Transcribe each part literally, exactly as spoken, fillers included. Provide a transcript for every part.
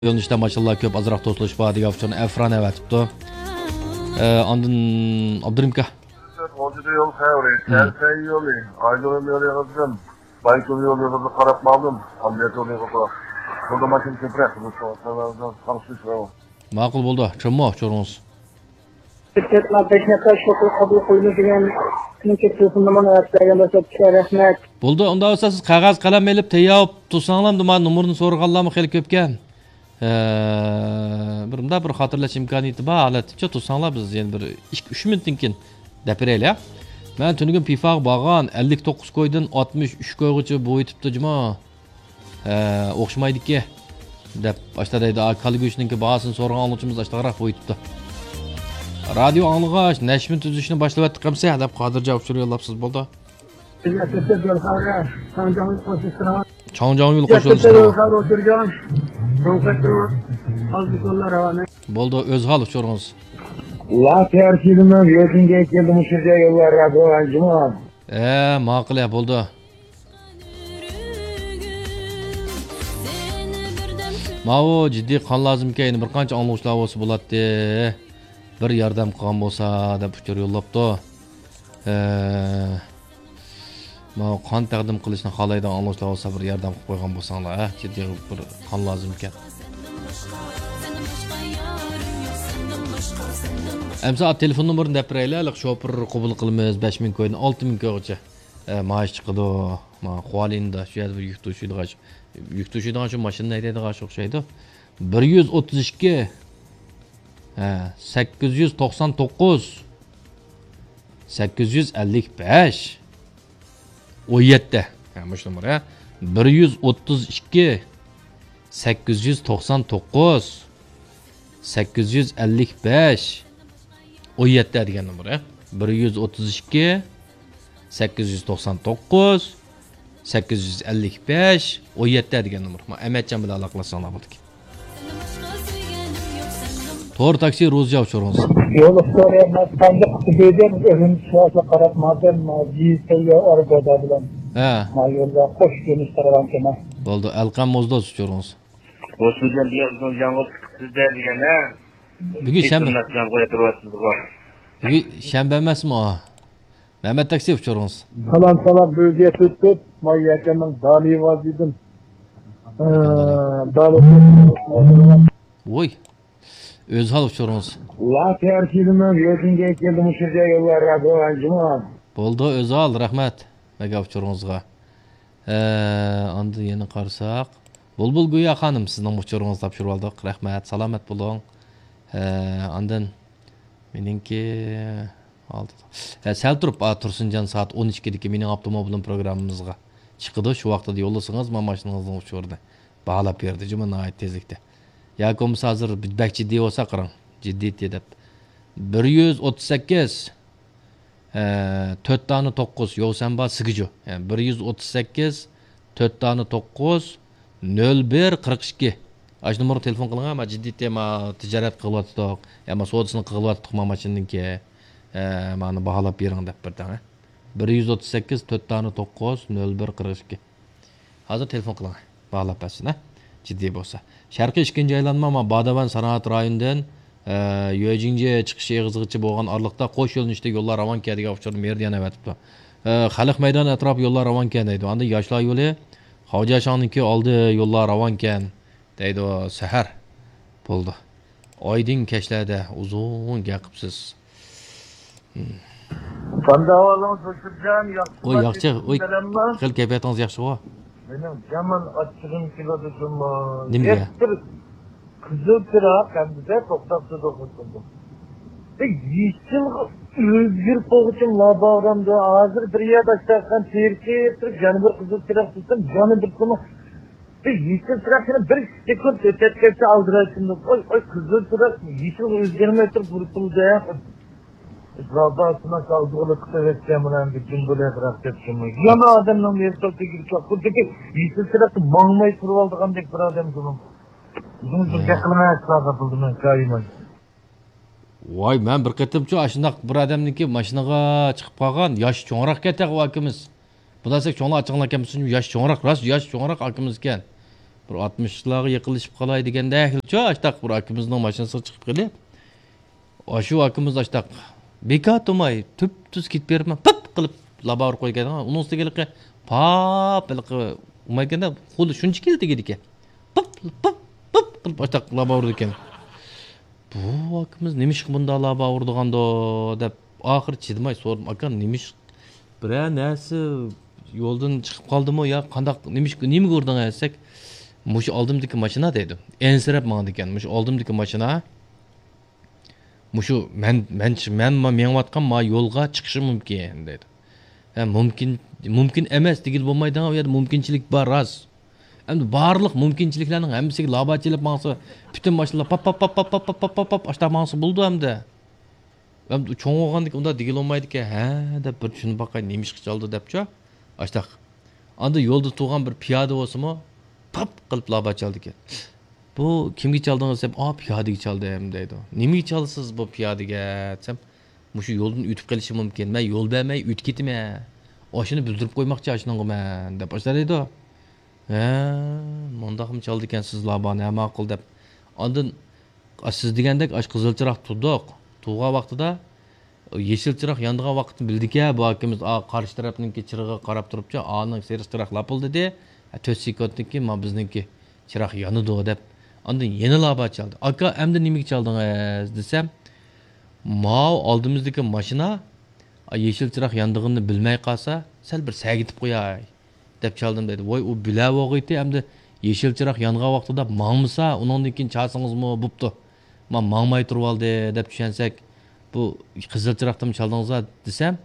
يۆنىلىشتە ماشىنىلار كۆپ، ئازراق توسۇلۇش بار دېگەن ئۇچۇرنى ئەفران ئەۋەتىپتۇ. ئە، ئاندىن ئابدۇرېھىم ئاكا. غۇلجىدا يول خەۋىرى، مم. تەرسەي يولى، ئايدۇرۇم يولى قىزدىم. بايتۇل يولى قىزىغا قاراپ ماڭدىم. ئابلەت يولى قىزىغا. بۇندا ماشىنا كۆپرەك. قارشى ماقۇل بولدى. چۈشەندىڭىز؟ بىر نەپەر شوپۇر قوبۇل قىلىدۇ دېگەن تېلېفون نومۇرىنى ئەۋەتىپ بەرگەن بولسا، رەھمەت. بولدى، ئۇنداق بولسا سىز قەغەز قەلەم ئېلىپ تەييار بولۇپ تۇرساڭلار، نومۇرنى سورىغانلارمۇ خېلى كۆپكەن. ئە، بىر مۇنداق بىر خاتىرىلەش ئىمكانىيىتى بار ھالەتتىچە تۇرساڭلار، بىز يەنە بىر ئىككى، ئۈچ مىنۇتتىن كېيىن دەپ بېرەيلى، ھە؟ مەن تۈنۈگۈن پىفاغا بارغان، ئەللىك توققۇز كويدىن ئاتمىش ئۈچ كويغىچە بويىتىپتۇ جۇمۇ. ھە، ئوخشىمايدىكى، دەپ ئاشتا دەيدۇ. ئا، كالا گۆشنىڭكى باھاسىنى سورىغان ئاڭلىغۇچىمىز ئاشتاقراق بويىتىپتۇ. رادىيو ئاڭلىغاچ، نەشمە تۈزۈشنى باشلىۋەتتۇق ئەمسە، دەپ قادىرجان ئۇچۇر يوللاپسىز، بولدى. چاڭجياڭ يول قوشۇلسۇن. بولدى، ئۆزھال ئۇچۇرىڭىز. لا تەركىبىمىز يۆتىنگە كەلدى، مۇشۇ يوللار رادىيو ئاڭلىما. ئە، ماقۇل، ئە، بولدى. ماۋۇ جىددىي قان لازىمكەن، يەنە بىر قانچە ئاڭلىغۇچىلار بولسا بولاتتى. بىر ياردەم قىلغان بولسا دەپ ئۇچۇر يوللاپتۇ. ئە، ماۋۇ قان تەقدىم قىلىشنى خالايدىغان ئاڭلىغۇچىلار بولسا، بىر ياردەم قىلىپ قويغان بولساڭلار، ھە؟ جىددىي بىر قان لازىمكەن. ئەمسە تېلېفون نومۇرىنى دەپ بېرەيلى، ھېلىقى شوپۇر قوبۇل قىلىمىز، بەش مىڭ كويدىن ئالتە مىڭ كويغىچە، ئە، مائاش چىقىدۇ. ما، خۇالىندا شۇ يەردە بىر يۈك توشۇيدىغان، يۈك توشۇيدىغان شۇ ماشىنا ھەيدەيدىغان شۇ ئوخشايدۇ. بىر يۈز ئوتتۇز ئىككى، ھە، سەككىز يۈز توقسان توققۇز، سەككىز يۈز ئەللىك بەش، ئون يەتتە. ھە، مۇشۇ نومۇر، ھە. بىر يۈز ئوتتۇز ئىككى، سەككىز يۈز توقسان توققۇز، سەككىز يۈز ئەللىك بەش، ئون يەتتە دېگەن نومۇر، ھە. بىر يۈز ئوتتۇز ئىككى، سەككىز يۈز توقسان توققۇز، سەككىز يۈز ئەللىك بەش، ئون يەتتە دېگەن نومۇر. ما، ئەمەتجان بىلەن ئالاقىلاشساڭلار بولىدىكەن. تور تاكسى روزىيا ئۇچۇرىڭىز. يول ئۇچۇرى، مەن ساندۇق تۈبىدىن ئۆزۈم شۇۋاسى قاراپ ماڭدىم، جىسەييە ئاربادا بىلەن. ھە. ما يولدا قوش يۆنىلىش قارىغان كېمە. بولدى، ئەلقەم موزدوز ئۇچۇرىڭىز. ھوسۇلجان دېگەن بىزنىڭ ياڭغۇ چىقىپ سىزدە دېگەن، ھە؟ بۈگۈن شەنبە. بۈگۈن شەنبە ئەمەسمۇ؟ مەمەت تاكسى ئۇچۇرىڭىز. سالام، سالام، بۆلگە تۆت تۆت، ماي يەكەننىڭ دالى ۋازىدىن. ئە، دالى. ۋوي. ئۆزھال ئۇچۇرىڭىز. لا تەركىبىمىز يۆتىنگە كەلدى، مۇشۇ يوللار رادىيو ئاڭلىما. بولدى، ئۆزھال، رەھمەت مەگە ئۇچۇرىڭىزغا. ئە، ئاندىن يەنە قارىساق، بۇلبۇل گويا خانىم سىزنىڭ ئۇچۇرىڭىزنى تاپشۇرۇۋالدۇق. رەھمەت، سالامەت بولۇڭ. ئە، ئاندىن مېنىڭكى ئالدىدا. ھە، سەل تۇرۇپ، ئا، تۇرسۇنجان سائەت ئون ئىككىدىكى مېنىڭ ئاپتوموبىلىم پروگراممىمىزغا چىقىدۇ. شۇ ۋاقتىدا يوللىسىڭىز، مانا ماشىنىڭىزنىڭ ئۇچۇرىنى باھالاپ بېرىدۇ جۇمۇ ناھايىتى تېزلىكتە. ياكى بولمىسا ھازىر بەك جىددىي بولسا قاراڭ. جىددىيتى دەپ. بىر يۈز ئوتتۇز سەككىز، ھە، تۆت دانە توققۇز، يوسەنبا سىگىجۇ. يەنى بىر يۈز ئوتتۇز سەككىز، تۆت دانە توققۇز، نۆل بىر، قىرىق ئىككى. ئاشۇ نومۇرغا تېلېفون قىلىڭ، ما جىددىيتى، ما تىجارەت قىلىۋاتىدۇق، يا ما سودىسىنى قىلىۋاتىدۇق، ما ماشىنىنىڭكى. ئە، مانا باھالاپ بېرىڭ دەپ بىردەڭ. بىر يۈز ئوتتۇز سەككىز، تۆت دانە توققۇز، نۆل بىر، قىرىق ئىككى. ھازىر تېلېفون قىلىڭ، باھالاپ بەرسۇن، ھە؟ جىددىي بولسا. شەرقىي ئىككىنچى ئايلانما، ما، باداۋەن سانائەت رايونىدىن، ئە، يۆجىڭجيې چىقىش ئېغىزىغىچە بولغان ئارىلىقتا قوش يۆنىلىشتە يوللار راۋانكەن دېگەن ئۇچۇرنى مېرىيەدىن ئەۋەتىپتۇ. ئە، خەلق مەيدانى ئەتراپى يوللار راۋانكەن دەيدۇ. ئاندىن ياشلار يولى، خاۋجياشاڭنىڭكى ئالدى يوللار راۋانكەن دەيدۇ. سەھەر بولدى. ئايدىڭ كەچلەردە ئۇزۇن گەپ قىپسىز. قانداق ئەھۋالىڭىز، ھۆسنىجان؟ ياخشىما؟ ئوي، ياخشى. ئوي، خېلى كەيپىياتىڭىز ياخشىغۇ؟ مېنىڭ يامان ئاچچىقىم كېلىدۇ جۇمۇ. نېمىگە؟ بىر قىزىل چىراغ ئەمدىدە توختاپ تۇرىدۇ. بىر يېشىلغا ئۆزگىرىپ بولغۇچىم لا باغرامدا. ھازىر بىر يەردە ئاشتاققان تېرىكىپ تۇرۇپ، يەنە بىر قىزىل چىراغ تۇتسام، يەنە بىر سۇنۇق. بىر يېشىل چىراغ يەنە بىر سېكۇنت ئۆتەتكەنچە ئالدىرايتتىم. ئوي، ئوي، قىزىل چىراغ يېشىلغا ئۆزگەرمەي تۇرۇپ ھۇرپۇلدايا. زاپاسىنا ساغدۇغىلى قىلىۋەتكەن بىلەن بۈگۈن بۇ لەقراق دەپتىمۇ. يەنە ئادەمنىڭ ۋېلىسىپىتىگە چوققىدىكى يېشىل چىراغدا ماڭماي تۇرۇۋالىدىغاندەك بىر ئادەم بۇنىڭ. بۇنىڭ بىر ھە. دەقلىمە ئەسلادا بولدى مەن كايىمان. ۋاي، مەن بىر قېتىمچۇ ئاشۇنداق بىر ئادەمنىڭكى ماشىنىغا چىقىپ قالغان، ياش چوڭراق كەتەغۇ ئاكىمىز. بۇنداق دېسەك چوڭلار ئاچچىقلىنىپ كەتمىسۇن، ياش چوڭراق، راست ياش چوڭراق ئاكىمىز ئىكەن. بىر ئاتمىشلارغا يېقىنلىشىپ قالاي دېگەندەكچۇ، ئاشتاق بىر ئاكىمىزنىڭ ماشىنىسىغا چىقىپ قېلىپ، ئاشۇ ئاكىمىز ئاشتاق بىكار تۇرماي، تۈپتۈز كېتىپ بېرىپمەن، پىپ قىلىپ لابا ئۇرۇپ قويغان. ئۇنىڭ ئۈستىگە ھېلىقى پاپ، ھېلىقى ئۇمايكەندە، خۇددى شۇنچە كېلىپ تېگىدىكەن. پىپ، پىپ، پىپ قىلىپ ئاشتاق لابا ئۇرىدىكەن. بۇ ئاكىمىز نېمىشقا بۇنداق لابا ئۇرىدىغاندۇ دەپ، ئاخىرى چىدىماي سورىدىم، ئاكا، نېمىش-، بىرەر نەرسە يولدىن چىقىپ قالدىمۇ يا قانداق، نېمىش-، نېمىگە ئۇردۇڭ دېسەك، مۇشۇ ئالدىمدىكى ماشىنا دەيدۇ. ئەنسىرەپ ماڭىدىكەن، مۇشۇ ئالدىمدىكى ماشىنا، مۇشۇ مەن، مەن، مەن مېڭىۋاتقان ما يولغا چىقىشى مۇمكىن دەيدۇ. ھە، مۇمكىن، مۇمكىن ئەمەس دېگىلى بولمايدىغان، ئۇ يەردە مۇمكىنچىلىك بار، راست. ئەمدى بارلىق مۇمكىنچىلىكلەرنىڭ ھەممىسىگە لابا چېلىپ ماڭسا، پۈتۈن ماشىنىلار پاپ، پاپ، پاپ، پاپ، پاپ، پاپ، پاپ، پاپ، پاپ، ئاشتا ماڭسا بولىدۇ ئەمدى. ئەمدى چوڭ بولغاندىكىن ئۇنداق دېگىلى بولمايدىكەن، ھە دەپ بىر چۈشىنىپ باقاي، نېمىشقا چالدى دەپچۇ. ئاشتاق. ئاندىن يولدا تۇرغان بىر پىيادە بولسىمۇ، پاپ قىلىپ لابا چالدىكەن. بۇ كىمگە چالدىڭىز دېسەم، ئا، پىيادىگە چالدىم دەيدۇ. نېمىگە چالىسىز بۇ پىيادىگە دېسەم، مۇشۇ يولدىن ئۆتۈپ قېلىشى مۇمكىن. مەن يول بەرمەي ئۆتۈپ كېتىمەن. ئاشۇنى بىلدۈرۈپ قويماقچى ئاشۇنىڭغا مەن دەپ ئاشۇنداق دەيدۇ. ھە، مۇنداقمۇ چالىدىكەنسىز لابانى، ھە، ماقۇل دەپ. ئاندىن، ئا، سىز دېگەندەك ئاشۇ قىزىل چىراغ تۇردۇق. تۇرغان ۋاقتىدا يېشىل چىراغ يانىدىغان ۋاقىتنى بىلدىكەن بۇ ئاكىمىز، ئا، قارشى تەرەپنىڭكى چىرىغىغا قاراپ تۇرۇپچۇ، ئانىڭ سېرىق چىراغ لاپىلدىدى. ھە، تۆت سېكۇنتتىن كېيىن مانا بىزنىڭكى چىراغ يانىدۇ دەپ، ئاندىن يەنە لابا چالدى. ئاكا، ئەمدى نېمىگە چالدىڭىز دېسەم، ماۋۇ ئالدىمىزدىكى ماشىنا، ئا، يېشىل چىراغ ياندىغىنىنى بىلمەي قالسا، سەل بىر سەگىتىپ قوياي دەپ چالدىم دەيدۇ. ۋاي، ئۇ بىلەۋالغىيتى، ئەمدى يېشىل چىراغ يانغان ۋاقتىدا ماڭمىسا، ئۇنىڭدىن كېيىن چالسىڭىزمۇ بوپتۇ. ما ماڭماي تۇرۇۋالدى دەپ چۈشەنسەك، بۇ قىزىل چىراغدىمۇ چالدىڭىزلا دېسەم،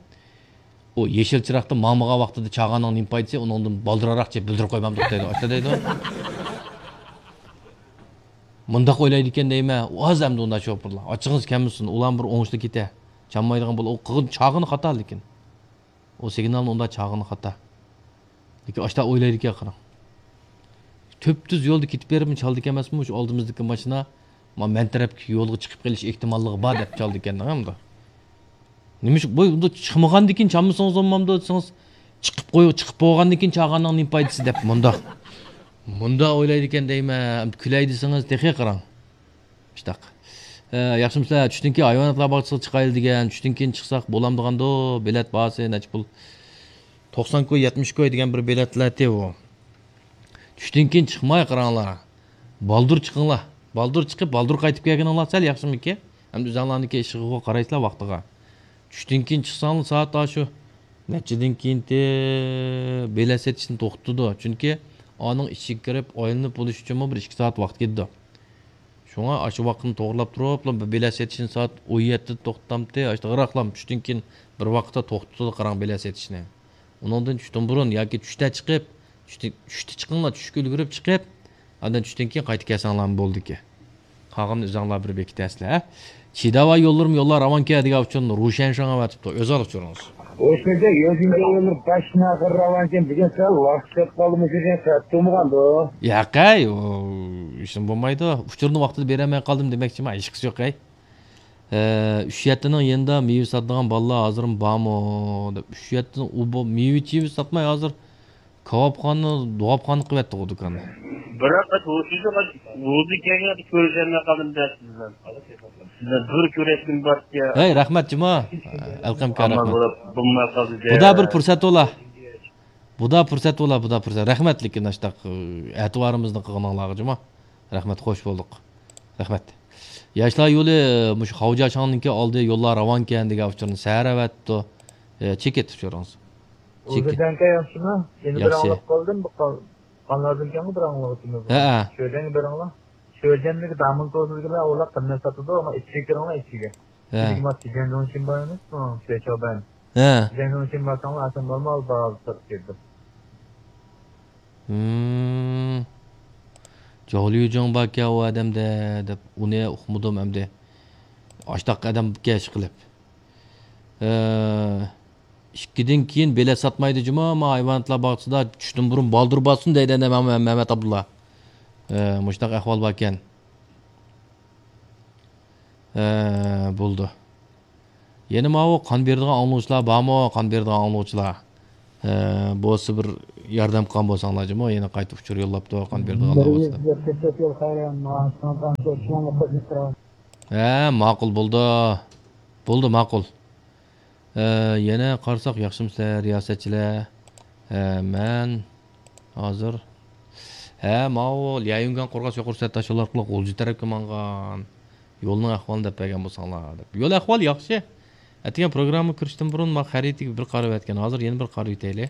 ئۇ يېشىل چىراغدا ماڭمىغان ۋاقتىدا چالغاننىڭ نېمە پايدىسى، ئۇنىڭدىن بالدۇرراق چېلىپ بىلدۈرۈپ قويمامدۇق دەيدۇ، ئاشۇنداق دەيدۇ. مۇنداق ئويلايدىكەن دەيمەن، ئاز ئەمدى ئۇنداق شوپۇرلار. ئاچچىقىڭىز كەلمىسۇن، ئۇلار بىر ئوڭۇشلۇق كېتە. چالمايدىغان بول، ئۇ قىلغان چالغىنى خاتا لېكىن. ئۇ سىگنالنى ئۇنداق چالغىنى خاتا. لېكىن ئاشتا ئويلايدىكەن قاراڭ. تۈپتۈز يولدا كېتىپ بېرىپمۇ چالدىكەن ئەمەسمۇ، شۇ ئالدىمىزدىكى ماشىنا، ما، مەن تەرەپكى يولغا چىقىپ قېلىش ئېھتىماللىقى بار دەپ چالدىكەن ئەمدى. نېمىش-، بۇ، بۇ چىقمىغاندىن كېيىن چالمىسىڭىز بولمامدۇ دېسىڭىز، چىقىپ قوي-، چىقىپ بولغاندىن كېيىن چالغاننىڭ نېمە پايدىسى دەپ مۇنداق. مۇنداق ئويلايدىكەن دەيمەن، كۈلەي دېسىڭىز تېخى قاراڭ. شۇنداق. ئە، ياخشىمۇسىلەر؟ چۈشتىن كېيىن ھايۋاناتلار باغچىسىغا چىقايلى دېگەن، چۈشتىن كېيىن چىقساق بولامدىغاندۇ؟ بېلەت باھاسى نەچچە پۇل؟ توقسان كوي، يەتمىش كوي دېگەن بىر بېلەتلەتى ئۇ. چۈشتىن كېيىن چىقماي قاراڭلار. بالدۇر چىقىڭلار. بالدۇر چىقىپ، بالدۇر قايتىپ كەلگىنىڭلار سەل ياخشىمىكىن؟ ئەمدى ئۆزۈڭلارنىڭكى ئىشىغا قارايسىلەر ۋاقتىغا. چۈشتىن كېيىن چىقساڭلار سائەت ئاشۇ نەچچىدىن كېيىنتى بېلەت سېتىشنى توختىتىدۇ. چۈنكى ئانىڭ ئىچىگە كىرىپ، ئايلىنىپ بولۇش ئۈچۈنمۇ بىر ئىككى سائەت ۋاقىت كېتىدۇ. شۇڭا ئاشۇ ۋاقىتنى توغرىلاپ تۇرۇپلا بىر بېلەت سېتىشنى سائەت ئون يەتتىدە توختىتامتى، ئاشۇنداقراقلا چۈشتىن كېيىن بىر ۋاقىتتا توختىتىدۇ قاراڭ بېلەت سېتىشنى. ئۇنىڭدىن چۈشتىن بۇرۇن ياكى چۈشتە چىقىپ، چۈشتە، چۈشتە چىقىڭلار، چۈشكە ئۈلگۈرۈپ چىقىپ، ئاندىن چۈشتىن كېيىن قايتىپ كەلسەڭلارمۇ بولىدىكەن. قالغىنىنى ئۆزۈڭلار بىر بېكىتەرسىلەر، ھە؟ چىداۋا يوللىرىم يوللار راۋانكەن دېگەن ئۇچۇرنى روشەن شاڭ ئەۋەتىپتۇ. ئۆزى ئال ئۇچۇرىڭىز. ئوشۇنچە يۆگىنگە يوللار باشتىن ئاخىر راۋانكەن دېگەن سەل ۋاقىت كەپ قالدىمۇ دېگەن سەت تۇرمىغاندۇ؟ ياقەي، ئۇ ئىشىم بولمايدۇ. ئۇچۇرنى ۋاقتىدا بېرەلمەي قالدىم دېمەكچىمەن، ھېچقىسى يوقەي. ئە، ئۈچ يەتتىنىڭ يېنىدا مېۋە ساتىدىغان بالىلار ھازىرمۇ بارمۇ؟ دەپ، ئۈچ يەتتىنىڭ ئۇ بۇ مېۋە چېۋە ساتماي ھازىر كاۋاپخانا، دوغاپخانا قىلىۋەتتىغۇ دۇكاننى. بىراق، ھوشۇمغا ھۇزۇر كەلگەن كۆرۈشەلمەي قالدىم دە سىزدىن. سىزدىن بىر كۆرۈشكۈم بار ئىكەن. ھەي، رەھمەت جۇما. ئەلقەمكە ئامال رەھمەت. بولۇپ، بولماي قالدى دە. بۇدا بىر پۇرسەت بولا. بۇدا پۇرسەت بولا، بۇدا پۇرسەت. رەھمەت، لېكىن ئاشتاق، ئەتىۋارىمىزنى قىلغىنىڭلارغا جۇما. رەھمەت، خوش بولدۇق. رەھمەت. ياشلار يولى، مۇشۇ خاۋجاشاڭنىڭكى ئالدى يوللار راۋانكەن دېگەن ئۇچۇرنى سەھەر ئەۋەتتى. ئە، چېكىت ئۇچۇرىڭىز. ئۇزۇر چېكىت. جانكا ياخشىمۇ؟ يەنە بىر ياخشى. ئاڭلاپ قالدىم، بۇ قان-، قانلاردىن كەڭ بىر ئاڭلىغۇچىمىز بار. ھەئە. شۆجەنگە بېرىڭلار. شۆجەنلىك دامولتونىگىلا ئۇلار قىممەت ساتىدۇ، ئەمما ئىچىگە كىرىڭلار، ئىچىگە. ھە. ئىچىگە ماس جيەنجۇڭشىن بار ئەمەسمۇ؟ شۆچاۋبەن. ھە. جيەنجۇڭشىن بارساڭلار، ئاسان نورمال باھادا ساتىپ كىردى. ھىم. جاۋليۇجياڭ باركەن ئۇ ئادەمدە دەپ، ئۇنى ئۇقمىدىم ئەمدى. ئاشتاق ئادەم كەش قىلىپ. ئە، ئىككىدىن كېيىن بېلەت ساتمايدۇ جۇما، ما ھايۋاناتلار باغچىسىدا چۈشتىن بۇرۇن بالدۇر بارسۇن دەيدۇ ئەنە مەم-، مەمەت ئابدۇللا. ئە، مۇشۇنداق ئەھۋال باركەن. ئە، بولدى. يەنە ماۋۇ قان بېرىدىغان ئاڭلىغۇچىلار بارمۇ؟ قان بېرىدىغان ئاڭلىغۇچىلار. ھە، بولسا بىر ياردەم قىلغان بولساڭلار جۇمۇ، يەنە قايتا ئۇچۇر يوللاپتۇ، قانداق بېرىدىغانلار بولسا دەپ. ھە، ماقۇل بولدى. بولدى، ماقۇل. ئە، يەنە قارىساق، ياخشىمۇسىلەر، رىياسەتچىلەر؟ ھە، مەن ھازىر، ھە، ماۋۇ ليايۈنگەن قورغاس يۇقىرى سەتداش يول ئارقىلىق غۇلجا تەرەپكە ماڭغان يولنىڭ ئەھۋالىنى دەپ بەرگەن بولساڭلار دەپ. يول ئەھۋالى ياخشى. ئەتىگەن پروگرامما كىرىشتىن بۇرۇن ما خەرىتىگە بىر قارىۋەتكەن، ھازىر يەنە بىر قارىۋېتەيلى.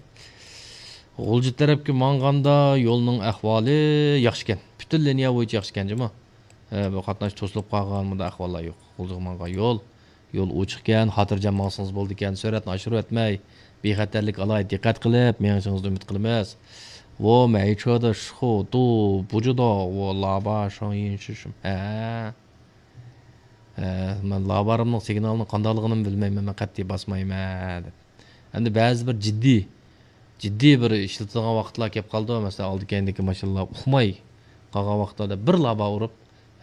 غۇلجا تەرەپكە ماڭغاندا يولنىڭ ئەھۋالى ياخشىكەن. پۈتۈن لىنىيە بويىچە ياخشىكەن جۇمۇ. ئە، بۇ قاتناش توسۇلۇپ قالغان، بۇنداق ئەھۋاللار يوق. غۇلجىغا ماڭغان يول، يول ئوچۇقكەن، خاتىرجەم ماڭسىڭىز بولىدىكەن. سۈرئەتنى ئاشۇرۇۋەتمەي، بىخەتەرلىك ئالاھىدە دىققەت قىلىپ مېڭىشىڭىزنى ئۈمىد قىلىمىز. ۋو مەيچۆدە شۇ دۇ بۇجۇدو ۋو لابا شاڭيىن شىشىم. ھە. ھە، مەن لابارىمنىڭ سىگنالىنىڭ قانداقلىقىنىمۇ بىلمەيمەن، مەن قەتئىي باسمايمەن دەپ. ئەمدى بەزى بىر جىددىي، جىددىي بىر ئىشلىتىدىغان ۋاقىتلار كەپ قالىدۇ. مەسىلەن، ئالدى كەينىدىكى ماشىنىلار ئۇقماي قالغان ۋاقىتلاردا بىر لابا ئۇرۇپ،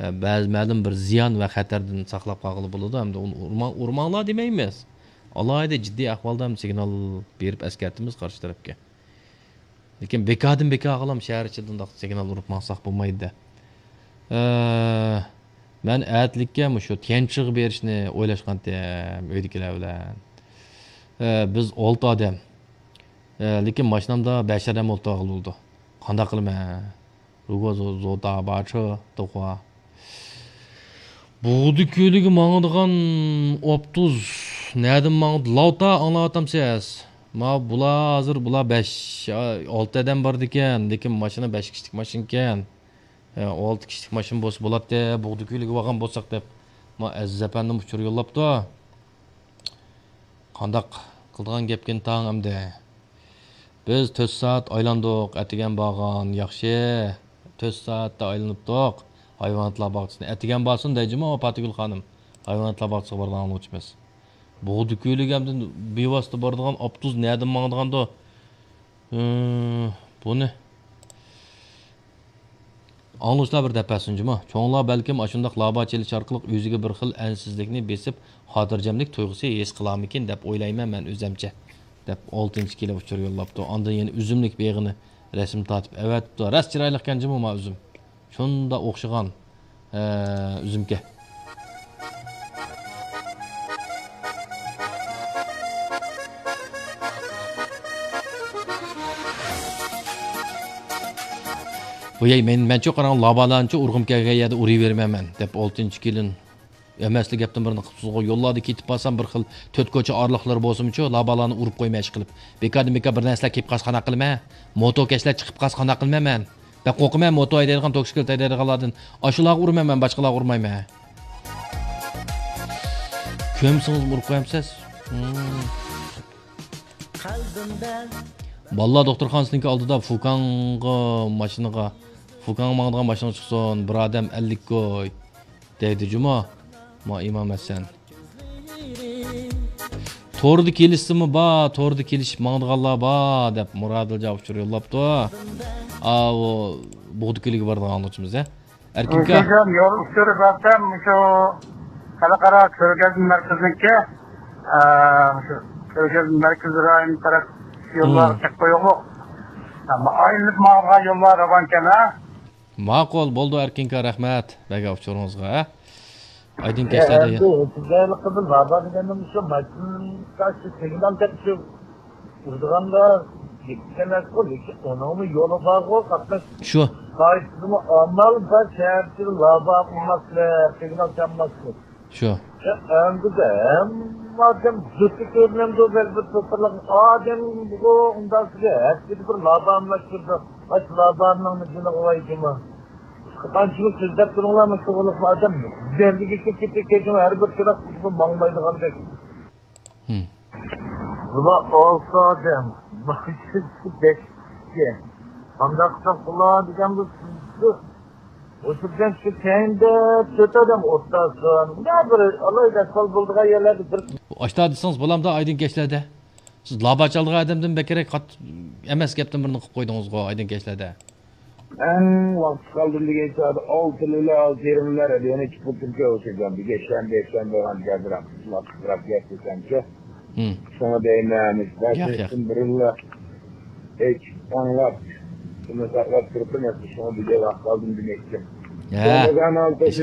ئە، بەزى مەلۇم بىر زىيان ۋە خەتەردىن ساقلاپ قالغىلى بولىدۇ. ئەمدى ئۇنى ئۇرما-، ئۇرماڭلار دېمەيمىز. ئالاھىدە جىددىي ئەھۋالدا ھەم سىگنال بېرىپ ئەسكەرتىمىز قارشى تەرەپكە. لېكىن بىكاردىن بىكارغىلام شەھەر ئىچىدە ئۇنداق سىگنال ئۇرۇپ ماڭساق بولمايدۇ-دە. ئە، مەن ئەتىلىككە مۇشۇ تيەنشىغا بېرىشنى ئويلاشقانتىم ئۆيدىكىلەر بىلەن. ئە، بىز ئالتە ئادەم. ئە، لېكىن ماشىنامدا بەش ئادەم ئولتۇرغىلى بولىدۇ. قانداق قىلىمەن؟ 如果坐大巴车的话. بۇغدا كۆلىگە ماڭىدىغان ئاپتوبۇس نەدىن ماڭىدۇ؟ لاۋتا ئاڭلاۋاتامسىز؟ ما بۇلار ھازىر، بۇلار بەش، ئالتە ئادەم بارىدىكەن، لېكىن ماشىنا بەش كىشىلىك ماشىنىكەن. ئە، ئالتە كىشىلىك ماشىنا بولسا بولاتتى، بۇغدا كۆلىگە بارغان بولساق دەپ. ما ئەزىز ئەپەندىم ئۇچۇر يوللاپتۇ. قانداق قىلىدىغان گەپكىن تاڭ ئەمدى؟ بىز تۆت سائەت ئايلاندۇق، ئەتىگەن بارغان ياخشى. تۆت سائەتتە ئايلىنىپتۇق ھايۋاناتلار باغچىسىنى. ئەتىگەن بارسۇن دەيجىمۇ پاتىگۈل خانىم، ھايۋاناتلار باغچىسىغا بارىدىغان بولغۇچىمىز. بۇغدا كۆلىگە ئەمدى بىۋاسىتە بارىدىغان ئاپتوبۇس نەدىن ماڭىدىغاندۇ؟ ئى، بۇنى ئاڭلىغۇچىلار بىر دەپ بەرسۇن جۇمۇ. چوڭلار بەلكىم ئاشۇنداق لابا چېلىش ئارقىلىق ئۆزىگە بىر خىل ئەنسىزلىكنى بېسىپ، خاتىرجەملىك تۇيغۇسى ھېس قىلارمىكىن دەپ ئويلايمەن مەن ئۆزەمچە، دەپ ئالتىنچى كېلىپ ئۇچۇر يوللاپتۇ. ئاندىن يەنە ئۈزۈملۈك بېغىنى رەسىم تارتىپ ئەۋەتىپتۇ. راست چىرايلىقكەن جۇمۇ ما ئۈزۈم. شۇنداق ئوخشىغان، ئە، ئۈزۈمكەن. بۇ يەي، مەن، مەنچۇ قاراڭ، لابالارنىچۇ ئۇرغۇم كەلگەن يەردە ئۇرۇۋېرىمەن مەن، دەپ ئالتىنچى كېلىن. ئەمەسلا گەپتىن بىرنى قىپسىزغۇ، يوللاردا كېتىپ بارسام بىر خىل تۆت كوچا ئارىلىقلىرى بولسىمۇچۇ، لابالارنى ئۇرۇپ قويماي ئىشقىلىپ. بىكاردىن بىكار بىر نەرسىلەر كېلىپ قالسا قانداق قىلىمەن؟ موتوكەشلەر چىقىپ قالسا قانداق قىلىمەن مەن؟ بەك قورقىمەن موتو ھەيدەيدىغان، توكسىكلىت ھەيدەيدىغانلاردىن. ئاشۇلارغا ئۇرىمەن مەن، باشقىلارغا ئۇرمايمەن. كۆمسىڭىزمۇ ئۇرۇپ قويامسىز؟ ھىم. بالىلار دوختۇرخانىسىنىڭكى ئالدىدا فۇكاڭغا ماشىنىغا، فۇكاڭغا ماڭىدىغان ماشىنىغا چىقسۇن، بىر ئادەم ئەللىك كوي دەيدۇ جۇمۇ. ما ئىمام ھەسەن. توردا كېلىشسىمۇ بار، توردا كېلىشىپ ماڭىدىغانلار بار دەپ مۇرادىلجا ئۇچۇر يوللاپتۇ. ئاۋۇ بۇغدا كۆلىگە بارىدىغان ئاڭلىغۇچىمىز، ھە؟ ئەركىنكا. ئۆزۈم يول ئۇچۇرى بەرسەم، مۇشۇ خەلقئارا كۆرگەزمە مەركىزىنىڭكى، ئە، مۇشۇ كۆرگەزمە مەركىزى رايونى تەرەپ يوللار، ھىم، چەك قويۇقلۇق. ئەمما ئايلىنىپ ماڭىدىغان يوللار راۋانكەن، ھە؟ ماقۇل، بولدى، ئەركىنكا، رەھمەت بەرگەن ئۇچۇرىڭىزغا، ھە؟ ئايدىڭ كەچلەردە. ئەمدى ئۆتۈمدەلىقىدىن بابا دېگەندىن شۇ ماشىنا، شۇ سىگنال تەپشۈ ئۇرىدىغاندا يېتىشەلەسقۇ، لېكىن ئۇنىڭمۇ يولى بارغۇ، قاتناش شۇ. قائىدىسىمۇ ئامال بار، شەھەرچىلىك لابا قىلماسلىق، سىگنال چالماسلىق. شۇ. ئەمدى ھەممە ئادەم زۇتى كۆرۈنەمدۇ، بەزى بىر توپىلىق ئادەم بۇ ئۇنداق سىزگە ھەپتىدە بىر لابا ئالماشتۇرىدۇ. ئاش لابانىڭ جېنىغا ۋاي جۇما. قانچىلىك سۆزلەپ تۇرۇڭلار، مۇشۇ ئادەم بەلگىگە كېتىپ كېتىڭ، ھەر بىر چىراغ ماڭمايدىغاندەك. ھىم. بۇلار ئالتە ئادەم، ماشىنىسى بەش كىشى. قانداق قىلسام قىلار دېگەن بۇ سىزدۇ. ئوتتۇرىدىن شۇ كەينىدە تۆت ئادەم ئولتۇرسۇن. يا بىر ئالاھىدە ئەھۋال بولىدىغان يەرلەردە بىر. ئاشتا دېسىڭىز بولامدا ئايدىڭ كەچلەردە؟ سىز لابا چالىدىغان ئادەمدىن بەكرەك قات-، ئەمەس گەپتىن بىرنى قىلىپ قويدىڭىزغۇ ئايدىڭ كەچلەردە. ئەڭ ۋاقىت قالدىم دېگەن چاغدا ئالتىلىلار، ئالتە يېرىملار ئەدىيەنى چىقىپ تۇرۇپ ئۆسىگەن. بىر يەكشەنبە، يەكشەنبە بولغان گەپرەك، گەپ دېسەمچۇ. ھىم. شۇڭا دەيمەن، ياق، ياق. بىرلا ئاڭلاپ، شۇنى ساقلاپ تۇرۇپ، مەن شۇڭا بىر ۋاقىت ئالدىم دېمەكچى. ھە. رامازان ئالتە